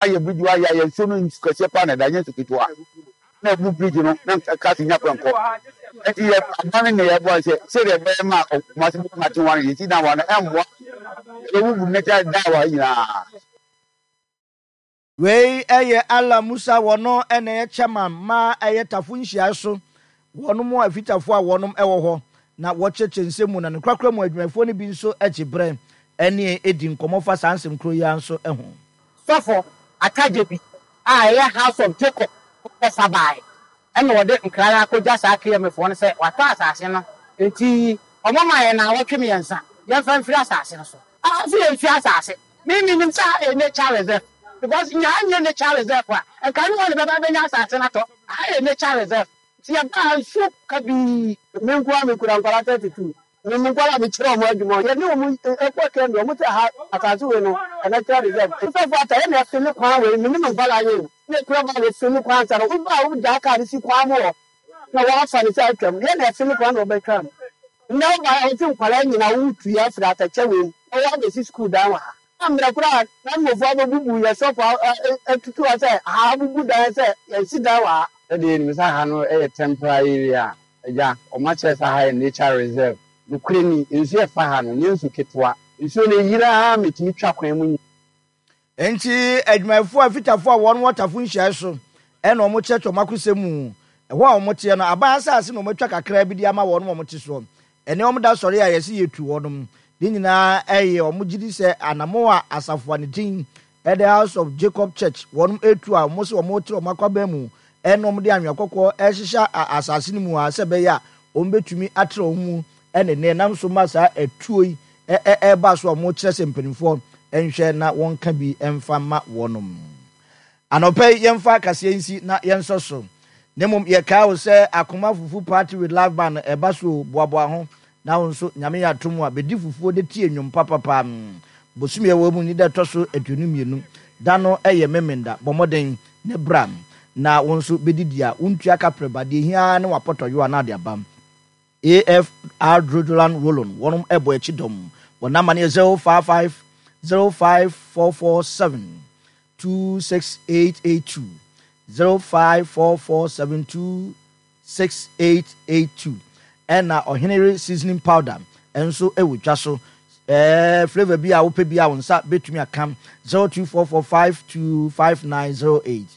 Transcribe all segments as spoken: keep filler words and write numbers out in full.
Ayɛ bridge wa yɛ ayɛ nsuo no, nsu kɛseɛ paa na ɛda, nyɛ nsu ketewa na ebu bridge no na cars nya kwan kɔ. Nti yɛ aban ne yɛ bɔ sɛ sɛdeɛ ɛbɛyɛ ma Kumasi bɛtumi ate wɔn yɛsi dan wa no, ɛmmoa, ɛbɛbubu natural dan wa nyinaa. Wei ɛyɛ Ala Musa, wɔno ɛna ɛyɛ chairman ma ɛyɛ Tafo nhyiae so wɔnom afitafo a wɔnom ɛwɔ hɔ na wɔkyerɛkyerɛ nsɛm mu. Na ne korakora mu adwumayɛfoɔ no bi nso akyi berɛ ɛne ɛdi nkɔmmɔ fa saa nsɛm kuro yi ara nso ho. Sɔfo Atagye bi a ɛyɛ House of Jacob kɔfa baeɛ, ɛna wɔde nkra no akɔgya saa K M A foɔ no sɛ watɔ asase no, nti ɔmo ma yɛn naawɔtwe mmiɛnsa yɛmfa mfiri asase no so. Afi yɛmfiri asase me menim sɛ ha yɛ nature reserve, because nyaa nyɛ nature reserve a, nka ne wɔn ne bɛba bɛnya asase no atɔ. Ha yɛ nature reserve, nti yɛbaa nsuo kabii. Me nko a mekura nkwara thirty two, me mu nkwara mekyerɛ ɔmo adwuma, yɛne ɔmo ɛkɔ kɛm deɛ ɔmo sɛ ha asase wei no ɛnɛkyerɛ reserve. Sɔfo ata yɛne ɛfe ne kwan wei, me ne me nkwara yɛ o ne ekura ba yɛfe ne kwan sa no, woba a wogyaa kaa no si kwan mu hɔ na wɔafa ne sɛ atwam, yɛne ɛfe ne kwan na wɔbɛtwa mu. Nnɛ woba a wɔte nkwara nyinaa wotu yɛ afiri atɛkyɛ wei mu na wɔabɛsi sukuu dan wɔ ha na mmerɛ koraa na mmɔfoɔ abɛbubu yɛ sɔfo atutu hɔ sɛ ha abubu dan sɛ yɛnsi dan wɔ ha. Sɛdeɛ yɛnim sɛ ha no yɛ temporary area a, agya ɔmo akyerɛ sɛ ha yɛ nature reserve. Nokorɛ ni, nsuo ɛfa ha no nyɛ nsu ketewa. Nsuo no yira metumi twa kwan mu. Nti adwumayɛfoɔ a fitafoɔ a wɔn wɔ Tafo nhyiae so ɛna wɔn kyerɛkyerɛ wɔn akosɛm mu. Ɛhɔ a wɔn teɛ no, aban asase na wɔn atwa kakra bi de ama wɔn wɔn te soɔ. Ɛne wɔn da sɔre a yɛsi yɛtu wɔnom ne nyinaa, ɛyɛ wɔn gyi di sɛ anamo a asafo a ne din ɛde House of Jacob Church wɔn etu a wɔn sɛ wɔn tere wɔn akwaban mu, ɛna wɔn de anwea kɔkɔɔ ɛhyehyɛ asase no mu a sɛ ɛbɛyɛ a wɔn bɛtumi atere wɔn mu, ɛne ne nam so ma saa ɛtuo yi ɛɛba so a wɔn kyerɛ sɛ mpanimfoɔ nhwɛ na wɔnka bi mfa ma wɔnom. Anɔpɛ yi yɛmfa kaseɛ nsi na yɛnsɔ so, na mmom yɛkae wo sɛ Akoma Fufu Party with live band ɛba so. Boaboa ho na wo nso Nyame yɛ atom a bɛdi fufuo de tie nnwom papapa. Bosome ɛwɔ mu ni da ɛtɔ so aduonu mmienu, da no ɛyɛ Memenda. Bɔ mmɔden ne bra na wo nso bɛdidi a wontua kaprɛ ba deɛ hia ne wapɔtɔyo a na ade aba. A F R Drodolan Rollon wɔnom ɛbɔ akyi dɔm. Wɔn nama no yɛ zero five five zero five four four seven two six eight eight two, zero five four four seven two six eight eight two. Ɛna Ɔhenere seasoning powder ɛnso ɛwɔ dwa so, ɛɛ flavour bi a wopɛ bi a wo nsa bɛtumi aka, zero two four four five two five nine zero eight.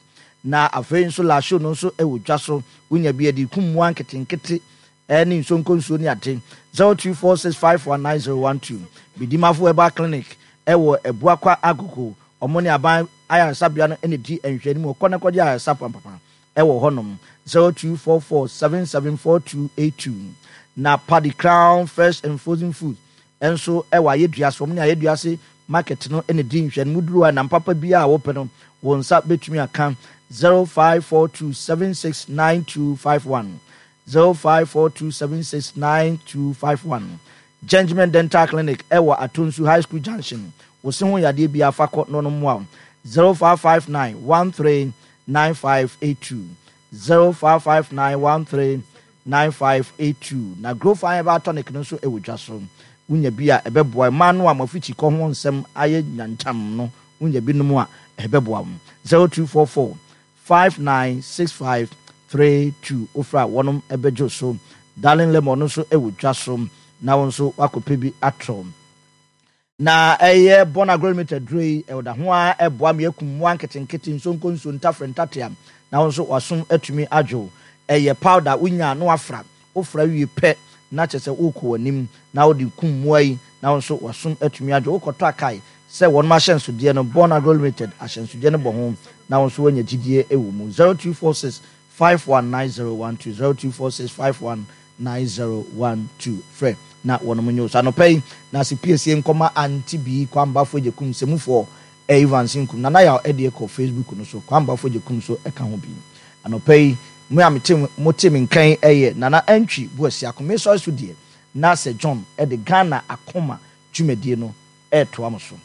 Na afei nso lasho no nso ɛwɔ dwa so, wonya bi ɛde kum mmoa nketenkete ɛne nsonko nsuo ne ade, zero two four six five one nine zero one two. Bidimafo Herbal Clinic ɛwɔ Abuakwa Agogo, ɔmo ne aban ayaresabea no ɛna di nhwɛanim. Ɔkɔ ne kɔgye ayaresa pampapa ɛwɔ hɔnom, zero two four four seven seven four two eight two. Na Paddy Crown Fresh and Frozen Food ɛnso ɛwɔ Ayɛdua so, ɔmo ne Ayɛdua se market no ɛna di nhwɛanim. Duro a nam papa bi a wɔpɛ no, wɔn nsa bɛtumi aka, zero five four two seven six nine two five one, zero five four two seven six nine two five one. Gentleman Dental Clinic ɛwɔ Atonsu High School Junction, wosi ho yadeɛ bi afa kɔ na ɔno mmoa, zero five five nine one three nine five eight two, zero five five nine one three nine five eight two. Na Grow Fine Herbal Tonic no nso ɛwɔ dwa so, wonya bi a ɛbɛboa mmaa no a mafikyi kɔ ho nsɛm ayɛ nyankyam no, wonya bi nom a ɛbɛboa wo, zero two four four five nine six five three two. Ofra wɔnom ɛbɛgye so. Darling Lemon no nso ɛwɔ dwa so na wɔn nso wakɔpɛ bi atɔ. Na ɛyɛ Bɔn Agro Limited duro yi, ɛwɔda ho a ɛboa me akum mmoa nketenkete, nsonko nsuo, ntafrɛ, ntatea, na wɔn nso wasom atumi adwo. Ɛyɛ powder, wonya na wafra, wofra wie pɛ na kyerɛ sɛ wokɔ w'anim na wode kum mmoa yi na wɔn nso wasom atumi adwo. Wokɔtɔ akae sɛ wɔn ahyɛnsodeɛ no, Bɔn Agro Limited ahyɛnsodeɛ no bɔ ho na wɔn nso wanya gyidie wɔ mu. zero two four six five one nine zero one two, zero two four six five one nine zero one two, frɛ na wɔn mo nyɛ so. Anɔpɛ yi na ase piesie nkɔma anti bi Kwambafo Gyekum sɛmufoɔ Evans Nkum Nana Yaw ɛdeɛ kɔ Facebook no so, Kwambafo Gyekum so ɛka ho bi. Anɔpɛ yi mo a mete mo te me nkan ɛyɛ Nana Antwi Buasi Akome sɔre so deɛ na Sir John ɛde Ghana Akoma dwumadie no ɛɛtoa mo so.